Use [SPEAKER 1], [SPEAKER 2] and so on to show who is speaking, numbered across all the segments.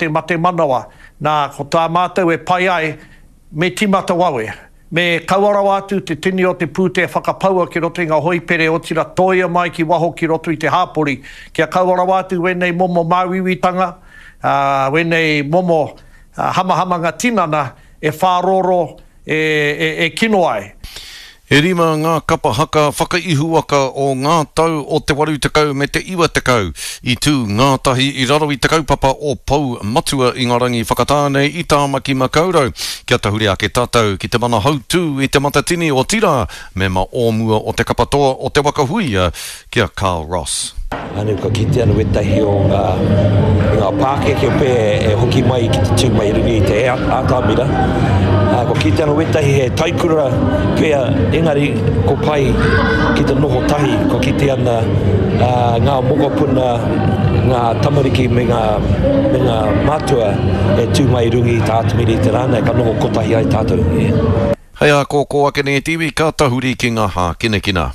[SPEAKER 1] Te mate manawa. Nā, ko tā mātou e pai ai, me tīmata wawe. Me kaua rawa atu te tini o te pūtea whakapaua ki roto i ngā hoipere otirā tōia mai ki waho ki roto i te hāpori, kia kaua rawa atu wēnei momo māuiuitanga, ā, wēnei momo hamahamanga tinana e whārōrō, e kino ai.
[SPEAKER 2] E rima ngā kapa haka whakaihuwaka o ngā tau o te 80 me te 90 i tū ngātahi i raro i te kaupapa o Pou Matua i ngā rangi whakatāne i Tāmaki Makaurau. Kia tahuri ake tātou ki te mana hautū i Te Matatini, otirā, mema o mua o te kapa toa o Te Waka Huia, ki a Carl Ross.
[SPEAKER 3] Anu ka kite anu wetahi o nga nga pakeke pe e hoki mai ki te tu mai i runga i te atamira. A kua kite anu wetahi he taikura pea engari ko pai ki te noho tahi kua kite ana nga mokopuna nga tamariki me nga me nga matua e tu mai i runga i te atamira i te ra nei ka noho kotahi ai tatou.
[SPEAKER 2] Hei ā kōkō ake nei te iwi ka tahuri ki ngā hākinakina.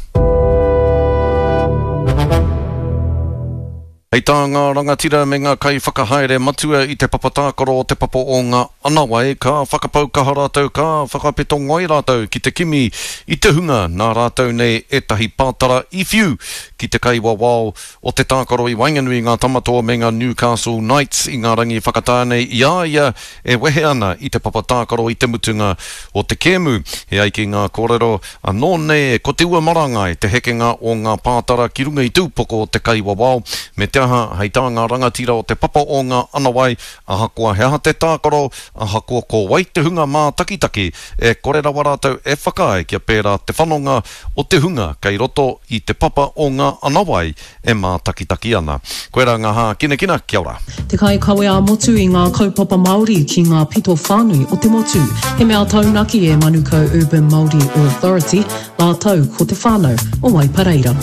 [SPEAKER 2] Hei tā ngā rangatira me ngā kaiwhakahaere matua i te papa tākaro o te papa o ngā Anawai, ka whakapau kaha rātou, ka whakapeto ngoi rātou ki te kimi i te hunga nā rātou nei ētahi pātara i whiu ki te kaiwawao o te tākaro i waenganui i ngā Tamatoa me ngā Newcastle Knights i ngā rangi whakatā nei i a ia e wehe ana i te papa tākaro i te mutunga o te kēmu. E ai ki ngā kōrero, anō nei ko te ua marangai te hekenga o ngā pātara ki runga i te upoko o te kaiwawao, me te aha, hei tā ngā rangatira o te papa o ngā anawai, ahakoa he aha te tākaro, ahakoa ko wai te hunga mātakitaki, e kore rawa rātou e whakaae kia pērā te whanonga o te hunga kei roto i te papa o ngā anawai e mātakitaki ana. Koirā ngā hākinakina, kia ora.
[SPEAKER 4] Te kaikawe ā-motu i ngā kaupapa Māori ki ngā pito whānui o te motu. He mea taunaki e Manukau Urban Māori Authority rātou ko te whānau o Waipareira.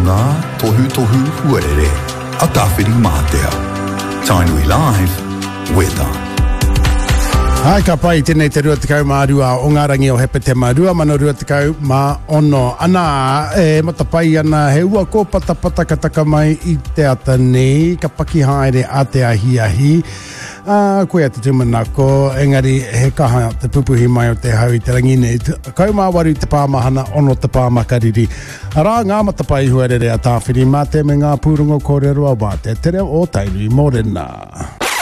[SPEAKER 5] Ngā tohutohu huarere a Tāwhirimātea. Tainui Live, Weta.
[SPEAKER 6] Hai, ka pai, tēnei te 22 o ngā rangi o Hepetema 2026. Ana, e matapai ana, he ua kōpatapata ka taka mai i te ata nei, ka paki haere a te ahiahi. Ā, koia te tūmanako, engari he kaha te pupuhi mai o te hau i te rangi nei. 18 te pāmahana, ono te pāmakariri. Arā ngā matapae huarere a Tāwhirimātea me ngā pūrongo kōrero a Wātea Te Reo o Tainui Mōrena.